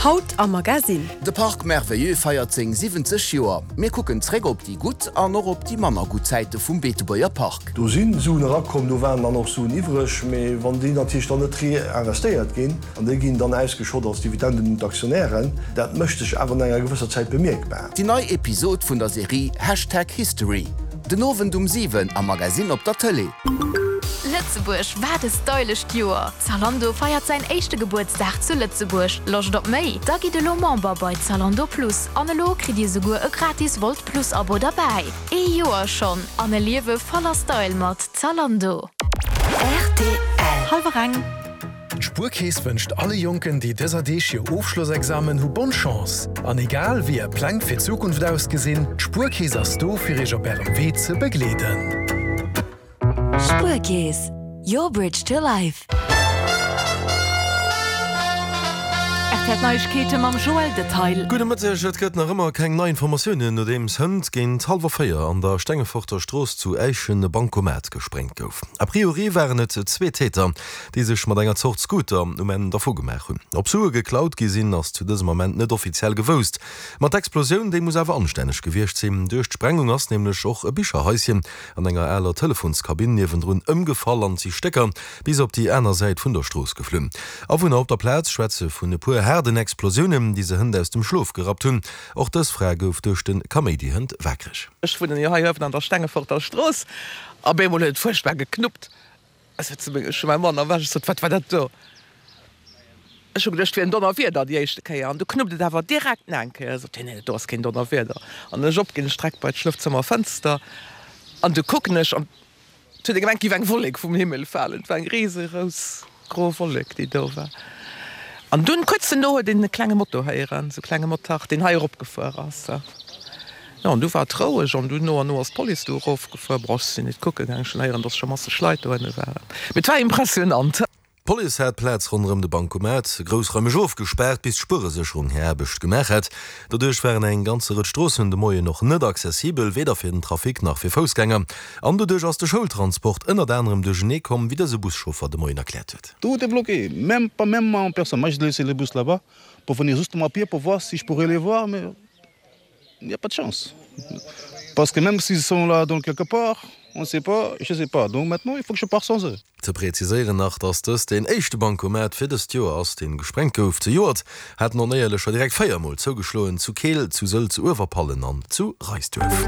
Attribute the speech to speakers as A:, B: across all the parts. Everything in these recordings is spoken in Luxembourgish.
A: Haut am Magasinn.
B: De Parc Merveilleux feiert seng 70 Joer. Mir kucken zréck op déi gutt an och op déi manner gutt Zäite vum Beetebuerger Park.
C: Do si Suen erakomm, do waren dann och Suen iwwreg, mee wann déi natierlech dann net reinvestéiert ginn an déi ginn dann ausgeschott als Dividenden un d'Aktionären, dat mécht sech awer no enger gewësser Zäit bemierkbar.
B: Déi nei Episod vun der Serie Hashtag History, den Owend um 7 am Magasinn op der Tëlee.
D: Lëtzebuerg, wat e stylescht Joer! Zalando feiert säin éischte Gebuertsdag zu Lëtzebuerg. Loscht op méi? Da gitt elo Member bei Zalando Plus an elo kritt dir souguer e gratis Wolt Plus Abo derbäi. Ee Joer schonn an e Liewe voller Style mat Zalando.
A: Rtl. Hallwer eng.
E: D'Spuerkeess wënscht alle Jonken, déi dëser Deeg hir Ofschlossexamen hu bonne Chance. An egal wéi är Pläng fir d'Zukunft ausgesinn, d'Spuerkeess ass do fir iech op ärem Wee ze begleeden.
A: Spuerkeess, your bridge to life. Rtl Neiegkeete mam Joël Detail.
F: Gudde Mëtteg, Et gëtt nach ëmmer keng nei Informatiounen, nodeems hënt géint hallwer 4 an der Stengeforter Strooss zu Äischen e Bankomat gespréngt gouf. A priori waren et zwee Täter, déi sech mat enger Zort Scooter um Enn dervu gemaach hunn. Ob Sue geklaut gi sinn, ass zu dësem Ament net offiziell gewousst. Ma d'Explosioun, déi muss awer anstänneg gewiescht sinn. Duerch d'Sprengung ass nämlech och e Bicherhaischen an enger aler Telefonskabinn niewendrun ëmgefall an si Stécker bis op déi aner Säit vun der Strooss geflunn. Awunner op der Plaz schwätze vun e puer haarden Explosiounen, déi se hënt aus dem Schlof gerappt hunn. Och dës Fra gouf duerch de Kaméidi hënt waakreg.
G: Ech wunnen jo hei uewen an der Stengeforter Strooss. Op eemol huet et fuerchtbar geknuppt. Ech sot zu mengem, ech hu mäi Mann erwächt, ech sot, Wat war dat do? Ech hu geduecht, et wier en Donnerwieder déi éischte Kéier. An du knuppt et awer direkt nach eng Kéier. Sot hien, Nee, dat do ass keen Donnerwieder. An ech op, ginn ech direkt bei d'Schlofzëmmerfënster an du kucken ech an et huet ee gemengt, et géif eng Wollek vum Himmel falen. Et war eng risegrouss gro Wollek, déi do war. An dunn, kuerz duerno, huet een e klenge Moto héieren, esou e klenge Motard, deen hei eropgefuer ass. Jo, an du war et roueg an dunn no an no ass d'Police du erofgefuer. Bon, ech sinn net kucke gaangen, ech hunn héieren, dass scho masseg Leit dohinne waren. Mee et war impressionant.
F: D'Police hat d'Plaz ronderëm de Bancomat groussraimeg ofgespaart, bis d'Spueresécherung hir Aarbecht gemaach hat. Doduerch waren eng ganze Rëtsch Stroossen de Moien och net accessibel, weder fir den Trafic nach fir Foussgänger. An doduerch ass de Schoultransport ënnert anerem duerchenee komm, wéi dëse Buschauffer de Moien erkläert huet.
H: Tout est bloqué, même pas même en personne. Moi j'ai laissé le bus là-bas pour venir justement à pied pour voir si je pourrais les voir mais Il n'y a pas de chance. Parce que même s'ils sont là dans quelque part, on ne sait pas, je ne sais pas. Donc maintenant, il faut que je parte sans eux.
F: Ze präziséieren nach, dass dëst deen éischte Bancomat fir dëst Joer ass, deen gesprengt gouf. Zejoert haten Onéierlecher direkt 4 Mol zougeschloen, zu Keel, zu Sëll, zu Uewerpallen an zu Reisduerf.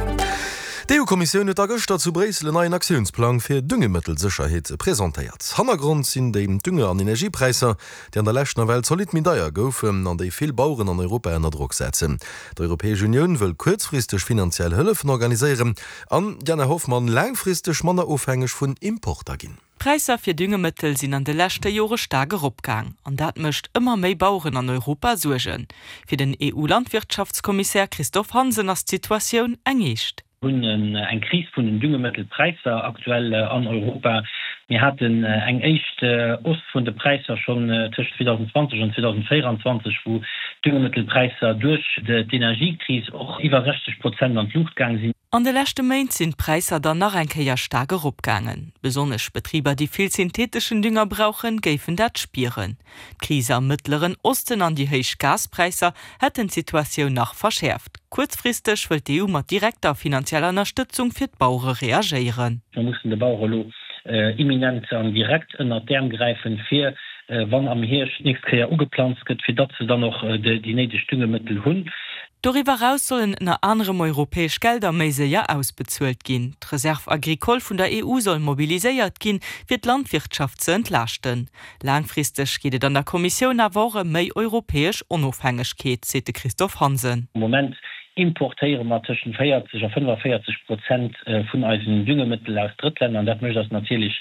F: D'EU-Kommissioun huet da gëschter zu Bréissel en neien Aktiounsplang fir Düngemëttelsécherheet presentéiert. Hannergrond sinn déi Dünge an Energiepräisser, déi an der Lescht nawell zolidd méi deier goufen an déi vill Baueren an Europa ënner Drock setzen. D'Europäesch Unioun wëll kuerzfristeg finanziell Hëllefen organiséieren an, Diana Hoffmann, laangfristeg manner ofhängeg vun Importer ginn.
I: D'Präisser fir Düngemëttel sinn an de leschte Jore staark eropgaang an dat mécht ëmmer méi Baueren an Europa Suergen. Fir den EU-Landwirtschaftskommissär Christophe Hansen ass d'Situatioun eng eescht.
J: Hunn eng Kris vun den Düngemëttelpräisser aktuell an Europa. Mir haten eng éischt Hausse vun de Präisser schonn tëscht 2020 an 2024, wou d'Düngemëttelpräisser duerch d'Energiekris och iwwer 60 Prozent an d'Luucht gaang sinn.
I: An de leschte Méint sinn d'Präisser dann nach eng Kéier staark eropgaangen. Besonnesch Betriber, déi vill syntheeteschen Dünger brauchen, géifen dat spieren. D'Kris am Mëttleren Osten an déi héich Gaspräisser hätten d'Situatioun nach verschäerft. Kuerzfristeg wëllt d'EU mat direkter finanzieller Ënnerstëtzung fir d'Bauere reagéieren.
J: Mir mussen de Bauere elo imminent an direkt ënnert d'Äerm gräifen, fir, wann am Hierscht d'nächst Kéier ugeplanzt gëtt, fir datt se dann och déi néideg Düngemëttel hunn.
I: Doriwwer eraus sollen ënner anerem europäesch Gelder méi séier ausbezuelt ginn. D'Reserve agricole vun der EU soll mobiliséiert ginn, fir d'Landwirtschaft ze entlaaschten. Laangfristeg geet et an der Kommissioun awer och ëm méi europäesch Onofhängegkeet, seet de Christophe Hansen.
J: Am Moment importéiere mer tëschent 40 a 45 Prozent vun eisen Düngemëttel aus Drëttlänner an dat mécht eis natierlech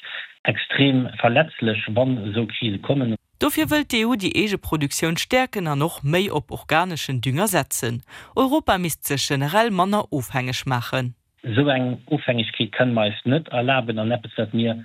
J: extrem verletzlech, wann esou Krise kommen.
I: Dofir wëllt d'EU déi eege Produktioun stäerken an och méi op organeschen Dünger setzen. Europa misst sech generell manner ofhängeg maachen.
J: Esou eng Ofhängegkeet kënne mer eis net erlaben an eppes, wat mir.